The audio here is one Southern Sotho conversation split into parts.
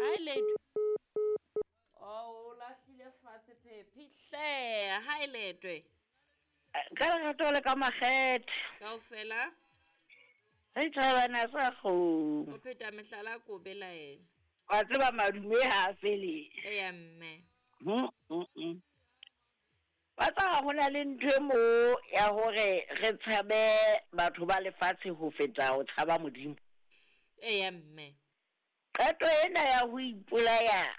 Hi Letwe. Oh, o lahlile fatshe phephi hle. Hi Letwe. Ka lerato le ka makgethe. Kaofela. Re thabana sa kgomo. O pheta mehlala ko belaela. Wa tseba madume ha a fele. Eya mme. Wa tseba ho na le ntho e mo ya hore re tshabe batho ba lefatshe ho feta ho tshaba Modimo. Eya mme. Qeto ena ya ho ipolaya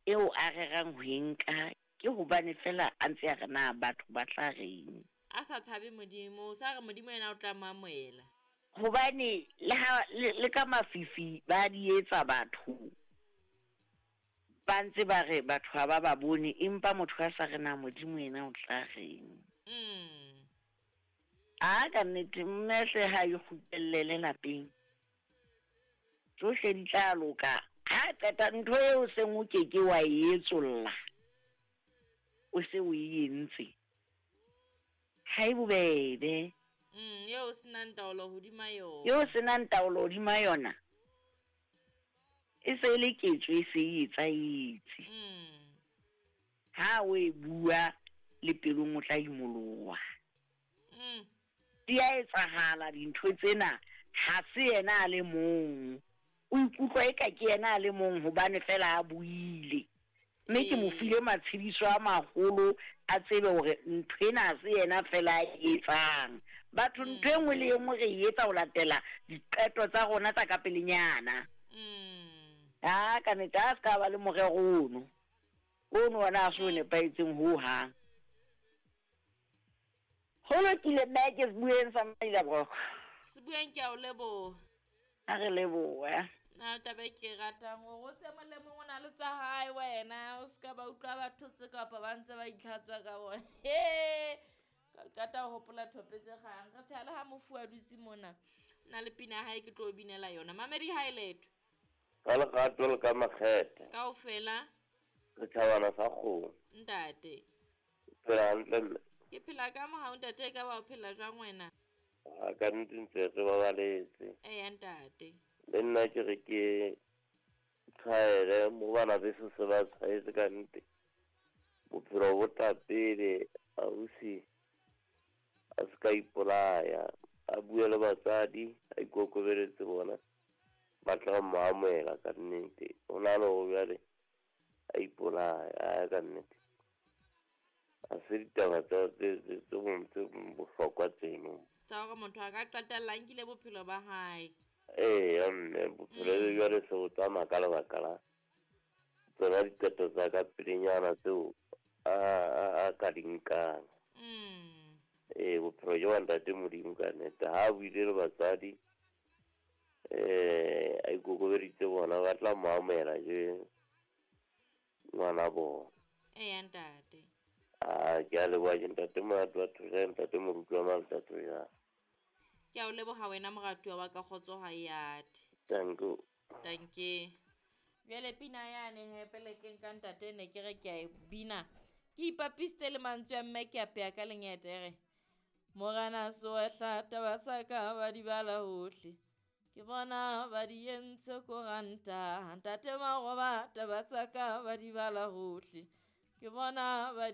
eo a rerang ho e nka ke hobane feela a ntse a re na batho ba tla reng. A sa tshabe Modimo, o sa re Modimo yena o tla mo amohela. Hobane le ha le ka mafifi ba di etsa batho. Ba ntse ba re batho ha ba ba bone, empa motho a sa re na Modimo yena o tla reng. A ka nnete mme hle ha e kgutlellele lapeng. Tsohle di tla loka. Ha qeta ntho eo seng o ke ke wa e etsolla. O se o e entse. Ha e bobebe. Eo o senang taolo hodima yona. Eo o senang taolo hodima yona. E se e le ketso e se e etsahetse. Ha o e bua le pelong o tla imoloha. Di a etsahala dintho tsena, ha se yena a le mong. O ikutlwa eka ke yena a le mong hobane fela a buile. Mme ke mo file matshediso a maholo a tsebe hore ntho ena ha se yena fela a e etsang. Batho ntho e nngwe le e nngwe re e etsa ho latela diqeto tsa rona tsa ka pelenyana. Ha ka nnete ha se ka ba le morero ono. Ono ona ha se o nepahetseng ho hang. Ho lokile mme ke Sebueng sa Mailaboroko. Sebueng ke a o leboha. A re lebohe. Na taba e ke e ratang hore o tse mong le mong o na le tsa hae wena o ska ba utlwa ba thotse kapa ba ntse ba itlhatswa ka bona. He! Ka qeta ho hopola thope tse kgang. Re tsheha le ha mofu a dutse mona. O na le pina ya hae ke tlo o binela yona. Mamedi ha e letho. Ka lerato le ka makgethe. Kaofela. Re thabana sa kgomo. Ntate. O phela hantle mme? Ke phela ka mohau ntate, e ka ba o phela jwang wena? A ka nnete ntse re babaletse. Eya ntate. Le nna ke re ke tshwaele mo bana beso se ba tshwaetse ka nnete. Bophelo bo tla pele, ausi a se ka ipolaya, a bue le batswadi, a ikokobeletse bona, ba tla mo amohela ka nnete. Ho na le hore jwale a ipolaya, a ka nnete. A se ditaba tse bohlokwa tseno. Tsa hore motho a ka qetella a nkile bophelo ba hae. Eya mme, bophelo jwale se bo tsamaya ka lebaka la tsona diqeto tsa ka pelenyana tseo a ka di nkang. Ee, bophelo ke wa ntate Modimo ka nnete. Ha a buile le batswadi, a ikokobeditse bona, ba tla mo amohela je ngwana bona. Eya ntate. A ke a leboha ke ntate Morati wa Thojane, ntate Moruti wa Malta Thojane. Ke a o leboha wena moratuwa wa ka, kgotso ha e ate. Thank you. Thank you. Jwale pina yane he pele ke nka ntate ne ke re ke a e bina. Ke ipapisitse le mantswe a mme ke a peya ka lengete e re. Morena soehla taba tsa ka ba di bala hohle. Ke bona ba di entse koranta. Ntate Maroba taba tsa ka ba di bala hohle. Ke bona ba